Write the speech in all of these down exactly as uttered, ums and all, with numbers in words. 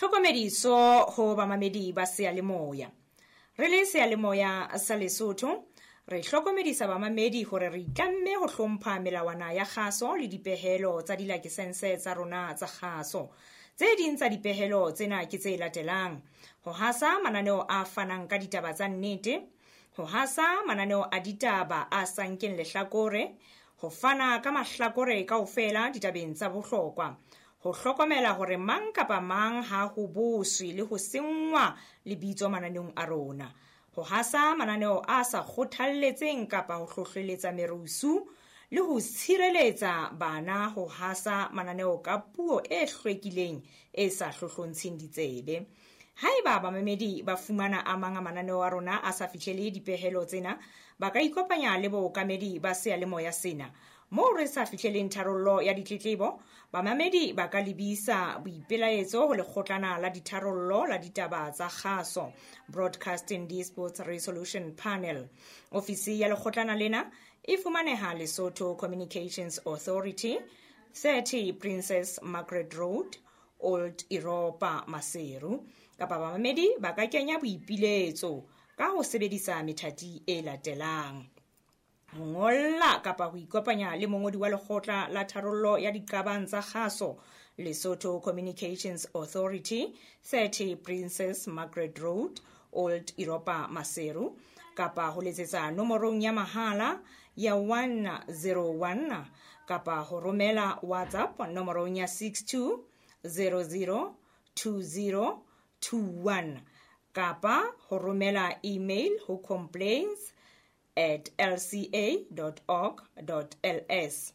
Tlhokomediso ho bamamedi ba seyalemoya. Re le seyalemoya sa Lesotho, re hlokomedisa bamamedi hore re itlamme ho hlompha melawana ya kgaso le dipehelo tsa dilakesense tsa rona tsa kgaso. Tse ding tsa dipehelo tsena ke tse latelang: ho hasa mananeo a fanang ka ditaba tsa nnete, ho hasa mananeo a ditaba a sa nkeng lehlakore, ho fana ka mahlakore kaofela ditabeng tsa bohlokwa, ho hlokomela hore mang kapa mang ha ho boswe le ho senngwa lebitso mananeong a rona, ho hasa mananeo a sa kgothalletseng kapa ho hlohleletsa merusu, le ho tshireletsa bana ho hasa mananeo ka puo e hlwekileng e sa hlohlontsheng ditsebe. Haeba bamamedi ba fumana a mang a mananeo a rona a sa fihlele dipehelo tsena, ba ka ikopanya le bookamedi ba seyalemoya sena. Moo re sa fihleleng tharollo ya ditletlebo, bamamedi ba ka lebisa boipelaetso ho lekgotlana la ditharollo la ditaba tsa kgaso, Broadcasting Disputes Resolution Panel. Ofisi ya lekgotlana lena e fumaneha Lesotho Communications Authority, thirty Princess Margaret Road, Old Europa, Maseru. Kapa bamamedi ba ka kenya boipiletso ka ho sebedisa methati e latelang: ho ngolla kapa ho ikopanya le mongodi wa lekgotla la tharollo ya diqabang tsa kgaso, Lesotho Communications Authority, thirty Princess Margaret Road, Old Europa, Maseru, kapa ho letsetsa nomorong ya mahala ya one zero one, kapa ho romela WhatsApp nomorong ya six two zero zero two zero two one, kapa ho romela email ho complaints at l c a dot org dot l s,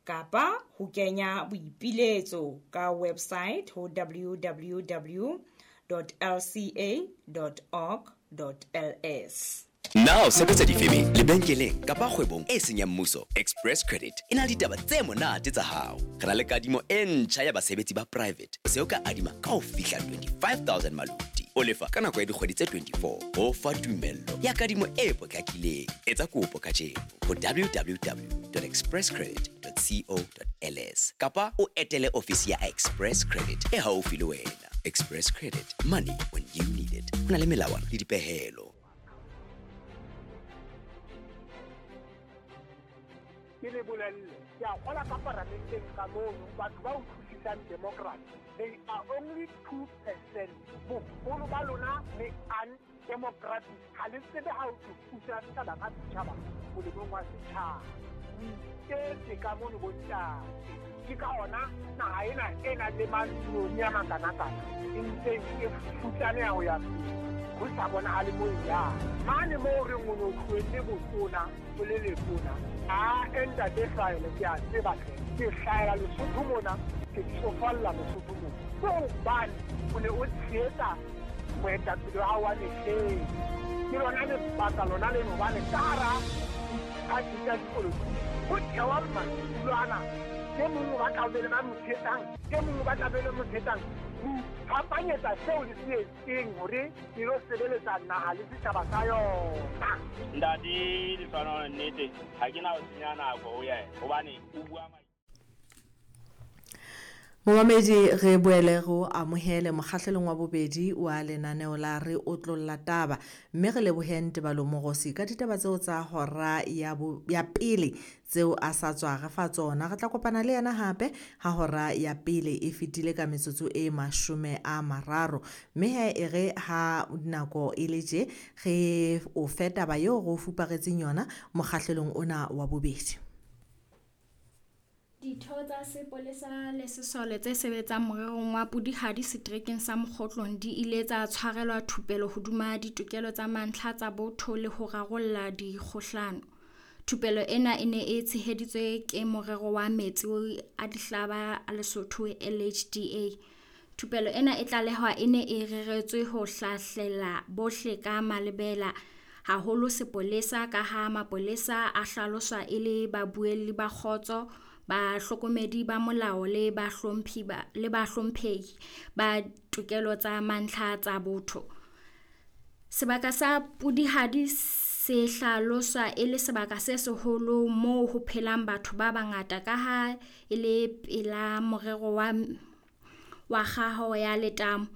kapa ho kenya boipiletso ka website ho w w w dot l c a dot org dot l s. Na o sebetsa difemeng, lebenkeleng kapa kgwebong e seng ya mmuso? Express Credit e na le ditaba tse monate tsa hao. Re na le kadimo e ntjha ya basebetsi ba private. O se o ka adima ka ho fihla twenty-five thousand maluti. O lefa ka nako ya dikgwedi tse twenty-four. Ho fa tumello ya kadimo e potlakileng. Etsa kopo kajeno ho w w w dot express credit dot co dot l s kapa o etele ofisi ya Express Credit e haufi le wena. Express Credit, money when you need it. Ho na le melawana le dipehelo. Ke le bolelle, ke a kgola ka paramenteng ka mono, batho ba utlwisisang democracy, they are only two percent. Boholo ba lona le undemocratic. Ha le tsebe ha o thusa setjhaba ka setjhaba molemong wa setjhaba. O iketse ka mono bontate. Ke ka hona naha ena e nang le matlong a makanakana e ntse e futsaneha ho ya pele. Ho sa bonahale moo e yang. Mane moo re reng o no tlohelle botona, o le letona. A ntate hlahele, ke a tseba hle. Ke hlahela Lesotho mona, ke tsofalla Lesotho mona. Ke hobane o ne o tshehetsa moetapele wa hao wa mehleng. Ke lona lebaka lona leno hobane ka hara diphathi tsa dipolotiki ho thewa madulo ana. E mong o batla ho be le ba mo tshehetsang, e mong o batla be le mo tshehetsang. Ho iphapanyetsa seo le se etseng hore e lo sebeletsa naha le setjhaba sa yona. Ntate Lehlohonolo, nnete ha ke na ho senya nako ho yena hobane o bua. Momamedi, re boele go amohele mokgahlelong wa bobedi wa lenaneo la Re Otlolla Taba, mme re leboheng Tebalo Mogosi ka ditaba tseo tsa hora ya bo, ya pele tseo a sa tswa re fa tsona. Re tla kopana le yena hape ha hora ya pele e fetile ka metsotso e mashome a mararo, mme he e re ha nako e le tje re o fe taba eo re o fuparetseng yona mokgahlelong ona wa bobedi. Ditho tsa sepolesa le sesole tse sebetsang morerong wa Pudihadi seterekeng sa Mokgotlong di ile tsa tshwarelwa thupelo hodima ditokelo tsa mantlha tsa botho le ho rarolla dikgohlano. Thupelo ena e ne e tsheheditswe ke morero wa metsi a dihlaba a Lesotho L H D A. Thupelo ena e tlalehwa e ne e reretswe ho hlahlela bohle ka malebela, haholo sepolesa, ka ha mapolesa a hlaloswa e le babuelli ba kgotso, bahlokomedi ba molao le bahlomphi ba le bahlomphehi ba tokelo tsa mantlha tsa botho. Sebaka sa Pudihadi se hlaloswa e le sebaka se seholo moo ho phelang batho ba bangata ka ha e le pela morero wa wa kgaho ya letamo.